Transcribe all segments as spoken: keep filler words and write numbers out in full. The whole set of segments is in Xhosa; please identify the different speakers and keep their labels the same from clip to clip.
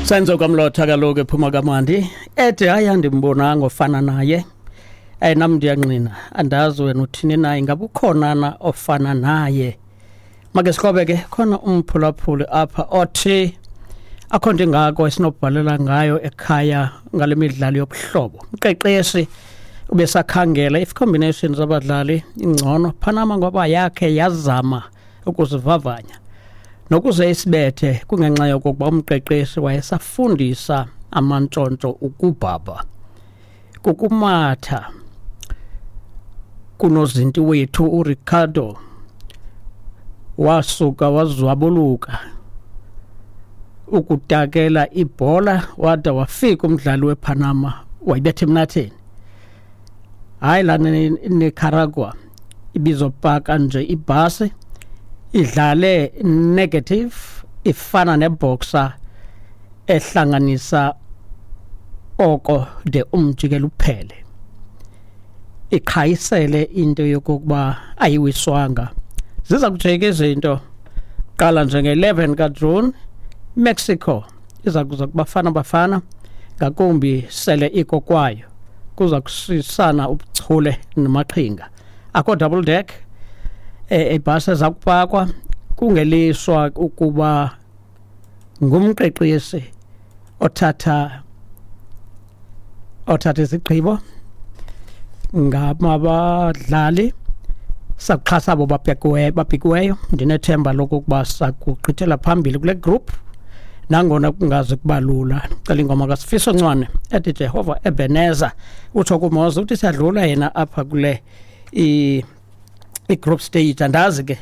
Speaker 1: Senzo Kamlotha kaloku ephuma kamandi ethi hayi, andimbonanga ofana naye. Eh nam ndiyangqina, andazi wena uthini naye, ngabe ukhona na ofana naye? Make sikhobe ke, khona umphulaphuli apha othi akho nto ingako esinobhalela ngayo ekhaya ngale midlalo yobuhlobo. Umqeqeshi ubesakhangela if combinations zabadlali ingcono Panama, ngoba yakhe yazama ukuzivavanya nokuze isibethe kungenxa yokokuba umqeqeshi wayesafundisa amantshontsho ukubhabha kukumatha kunozinti wethu uRicardo wasuka wazwabuluka ukutakela ibhola, wada wafika umdlali wePanama wayibetha emnatheni. Hayi, lana Nicaragua ibizopaka nje ibhasi idlale negative, ifana neboxer ehlanganisa oko de umjikelo uphele, iqhayisele into yokokuba ayiwiswanga. Ziza kujika izinto qala njenge-eleven kaJune, Mexico iza kuza kubafana bafana ngakumbi sele iko kwayo, kuza kusisana ubuchule namaqhinga. Akho double deck ebhasi eza kupakwa, kungeliswa ukuba ngumqeqeshi othatha othatha izigqibo ngabadlali. Sakuxhasa abo babhekiweyo babhikiweyo Ndinethemba lokokuba sakugqithela phambili kule group nangona kungazi kuba lula. Cela ingoma kaSifiso Ncwane ethi Jehova Ebenezer. Utsho kumoza uthi siyadlula yena apha kule i-group stage. Andazi ke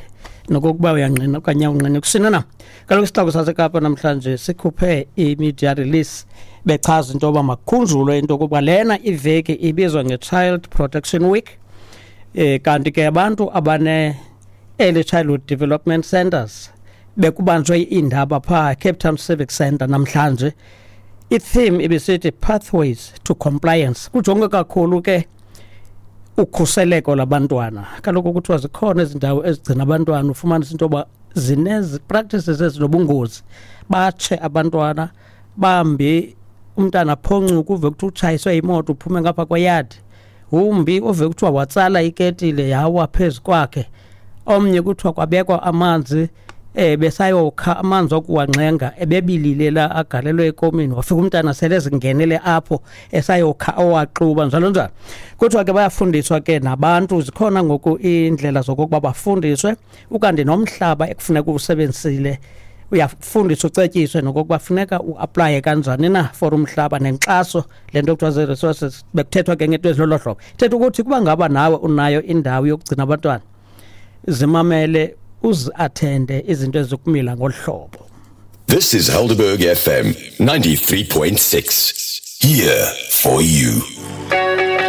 Speaker 1: nokokuba uyangqina okanye awungqini kusini na. Kaloku isixeko saseKapa namhlanje sikhuphe i-media release bechaza into yoba makukhunjulwe into yokuba lena iveki ibizwa nge-Child Protection Week, eh kanti ke abantu abane Early Childhood Development Centers bekubanjwe iindaba phaa Cape Town Civic Centre namhlanje. I-theme ibisithi "Pathways to Compliance". Kujongwe kakhulu ke ukhuseleko labantwana. Kaloku kuthiwa zikhona ezi ndawo ezigcina abantwana, ufumanisa into yoba zinezi practices ezinobungozi, batshe abantwana bambi, umntana aphoncuke, uve kuthiwa utshayiswe imoto uphume ngapha kweyadi, umbi uve kuthiwa watsala iketile yawa phezu kwakhe, omnye kuthiwa kwabekwa amanzi eh besayokha amanzi okuwangxenga ebebilile la agalelwe ekomini, wafika umntana sele ezingenele apho esayokha owaxuba, njalo njalo. Kuthiwa ke bayafundiswa ke nabantu, zikhona ngoku iindlela zokokuba bafundiswe, ukanti nomhlaba ekufuneka uwusebenzisile uyafundiswa, ucetyiswe nokokuba funeka uaplaye kanjani na for umhlaba nenkxaso, le nto kuthiwa zii-resources. Bekuthethwa ke ngento ezilolo hlobo. Thetha ukuthi kuba ngaba nawe unayo indawo yokugcina abantwana, zimamele, uzi-athende izinto ezikumila ngolu hlobo.
Speaker 2: This is Helderberg F M ninety-three point six. Here for you.